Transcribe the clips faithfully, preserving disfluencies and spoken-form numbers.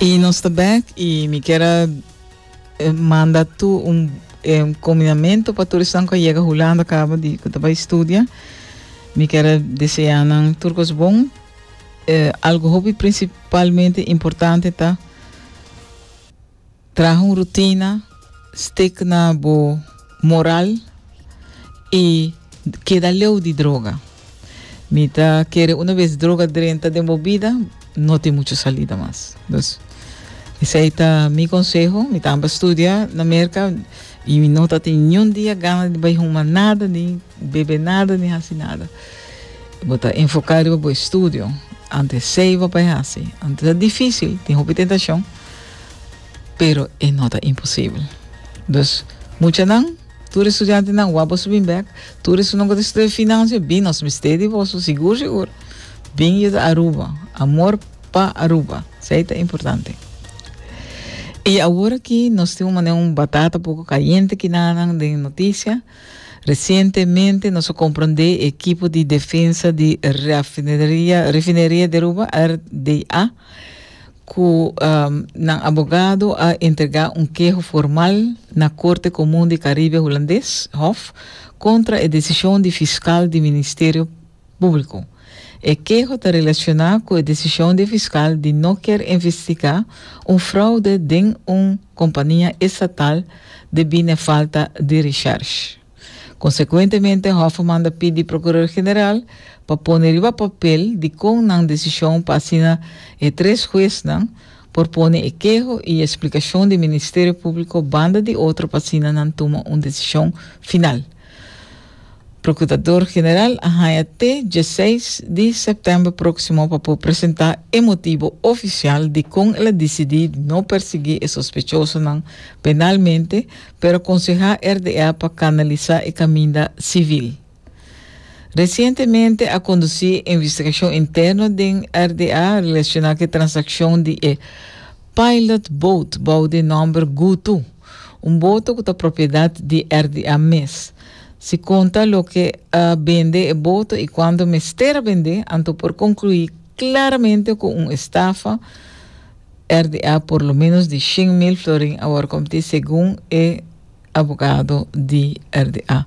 I nos ta back i mi kier eh, manda tur un eh, kombinamentu pa tur esnan ku yega Hulanda kaba di ku bai studia. Mi kier deseá nan tur kos bon. Eh, algo hopi prinsipalmente importante ta traha un rutina, stick na bo moral i keda leu di droga. Mi ta kere un bes droga drenta den bo bida, no tin muchu salida mas. Anto, esei ta mi konseho. Mi tambe a studia na Amérika i mi no tin ningun dia gana di bai huma nada, ni bebe nada, ni hasi nada. Bo ta enfoká riba bo estudio. Anto esei pa hasi. Anto ta difísil, tin hopi tentashon, pero e no ta imposibel. Dus, muchanan, tur studiantenan, wak boso bin back, tur esnan ku ta studia finansia, bin nos mester di boso, sigur, sigur. Bin di Aruba, amor pa Aruba, esei ta importante. I awor aki nos tin un, un batata poko kayente aki na na notisia. Resientemente nos a komprondé ekipo di defensa di refineria, refineria di Aruba, R D A, ku um, nan abogado a entregá un keho formal na Korte Komun di Karibe Hulandes, Hof, kontra e desishon di fiskal di Ministerio Públiko. E keho ta relashoná ku e desishon di fiskal di no ke investigá un froude den un kompania estatal debí na falta di recherche. Konsekuentemente, Hof a manda pidi prokurador general pa pone riba papel di kon nan desishon pa asina e tres huesnan por pone e keho i e splikashon di Ministerio Públiko banda di otro pa asina nan tuma un desishon final. Prokurador General a haña te diesseis di sèptèmber próksimo pa por presentá e motibu ofisial di kon el a disidí no persiguí e sospechosonan penalmente, pero konsehá R D A pa kanalisá e kaminda sivil. Resientemente a kondusí investigashon interno di R D A relashoná ku e transakshon di e Pilot Boat, bou di nòmber Gutu, un boto ku ta propiedat di R D A mes. Si konta loke a bende e boto i kuando mester a bende, anto por konkluí klaramente ku un estafa R D A por lo menos di shen mil florin a wòrdu kometí, segun e abogado di R D A.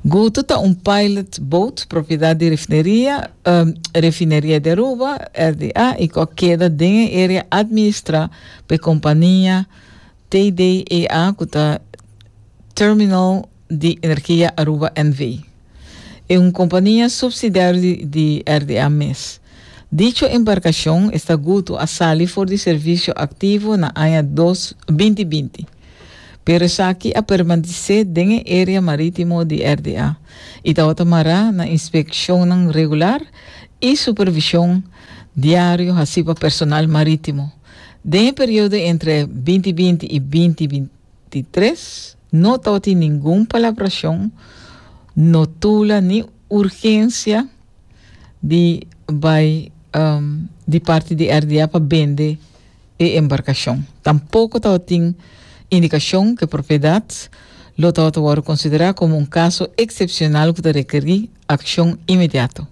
Gutu ta un pilot boat, propiedat di refineria, um, refineria di Aruba, R D A, i ku a keda den área administrá pa kompania T D E A, ku ta Terminal di Energia Aruba N V. E un kompania supsidiario di, di R D A mes. Dicho embarkashon, esta Gutu, a sali for di servisio aktivo na aña dos mil binti. Pero esaki a permanesé den área marítimo di R D A i tabata mará na inspekshon regular i supervishon diario hasí pa personal marítimo. Den e periodo entre dos mil binti i dos mil bintitres, no tabatin ningun palabrashon, notula ni urgensia di bai um, di parti di R D A pa bende e embarkashon. Tampoko tabatin indikashon ku propiedat lo tabata konsiderá komo un kaso eksepshonal ku ta rekerí akshon inmediato.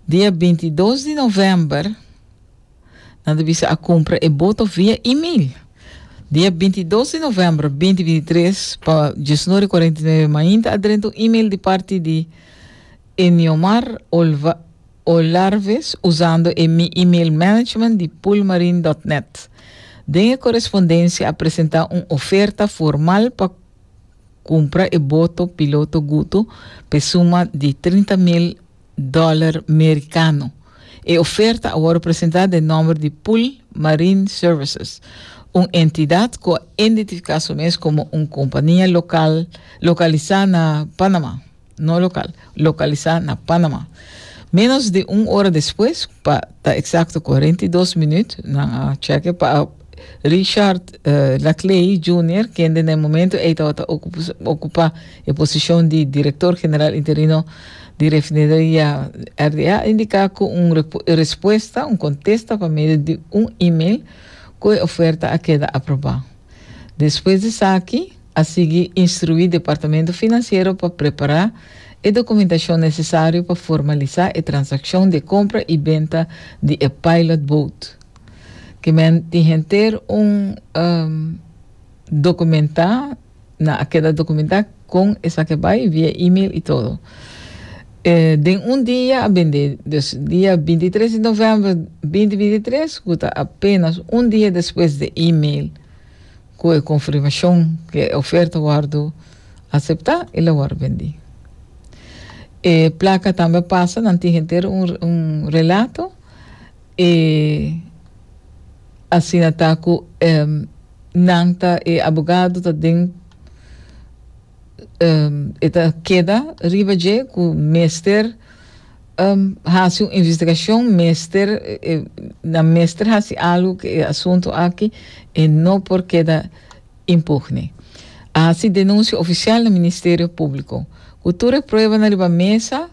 Dia bintidos di novèmber, nan a a kumpra e boto via e-mail. Dia bintidos di novèmber di dos mil bintitres, pa diesnuebe kuarenta i nuebe mainta, a drenta un e-mail di parti di Eniomar Olva, Olarves, usando e email management di poolmarine punto net. Den korespondensia a presentá un oferta formal pa kumpra e boto piloto Gutu pa suma di trinta mil dòler merikano. E oferta a wòrdu presentá den nòmber di Pool Marine Services, un entidat ku a identifiká su mes komo un kompania lokal lokalisá na Panamá, no lokal, lokalisá na Panamá. Menos di un ora despues, pa ta eksakto kuarenta i dos minüt, nan check pa Richard uh, Laclay Junior, ku na momento tabata okupá e posishon di direktor general interino di refineria R D A, a indiká ku un respuesta, un kontesta pa medio di un e-mail ku e oferta a keda aprobá. Despues di esaki, a sigui instruí departamento finansiero pa prepará e dokumentashon nesesario pa formalisá e transakshon di kompra i benta di e pilot boat. Ke men tin henter un um, dokumentá, nan a keda dokumentá kon esaki a bai via e-mail i tur. Eh, den un dia a bende, dus dia bintitres di novèmber dos mil bintitres, ku ta apenas un dia despues di e-mail ku e konfirmashon ku e oferta a wòrdu aseptá, el a wòrdu bendí. E plaka tambe a pasa, nan tin henter un, un relato, i asina ta ku um, nan ta e abogado ta den um, e ta keda riba dje ku mester um, hasi un investigashon, mester eh, nan mester hasi algu ku e asuntu aki i no por keda impune. Hasi denunsia ofisial na Ministerio Públiko. Ku tur prueba na riba mesa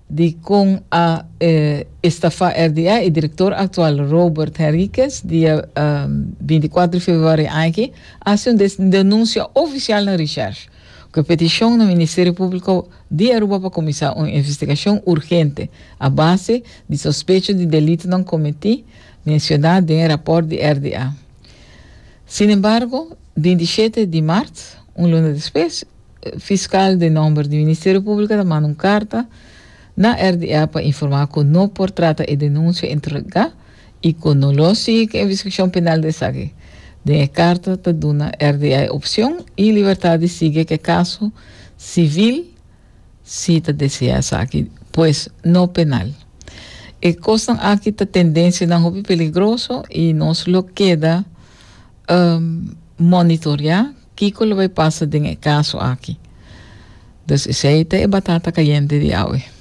di kon a eh, estafa R D A e direktor aktual Robert Henriquez, dia um, bintikuater di febrüari aki, a hasi un denunsia ofisial na Recherche, ku petishon na Ministerio Públiko di Aruba pa kuminsá un investigashon urgente a base di sospecho di delitonan kometí menshoná den rapòrt di R D A. Sin embargo, bintisshete di mart, un luna despues, fiskal den nòmber di Ministerio Públiko a manda un karta na R D A pa informá ku no por trata e denunsia entregá i ku no lo sigui investigashon penal di esaki. Den e karta ta duna R D A opshon i libertat di sigui ku kaso sivil si ta deseá esaki, pues no penal. E kosnan aki ta tendensianan hopi peligroso i nos lo keda um, monitoreá kiko lo bai pasa den e kaso aki. Dus esei ta e batata kayente di awe.